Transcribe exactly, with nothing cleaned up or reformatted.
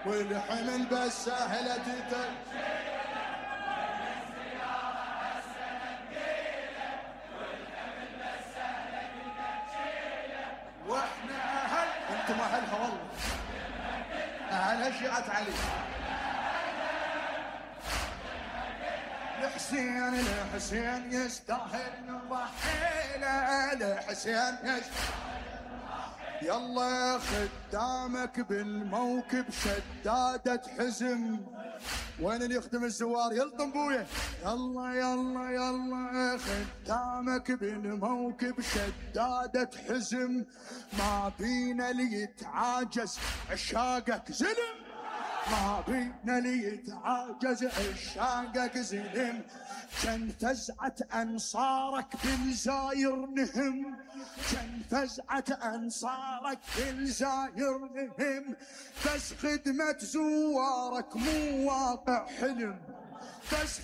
والحمل بس سهلة تتل واحنا اهل انتم اهلها والله اهلها شيعة علي. الحسين الحسين يستاهل نضحي له الحسين يستاهل يلا خدامك بالموكب شدادة حزم. وين اللي يخدم الزوار يلطم بويه يلا يلا يلا خدامك بالموكب شدادة حزم. ما بينا اللي يتعاجز عشاقك زلم ما بينا اللي يتعاجز عشاقك زلم. كان فزعة أنصارك بالزاير نهم كان فزعة أنصارك بالزاير نهم. بس خدمة زوارك مو واقع حلم بس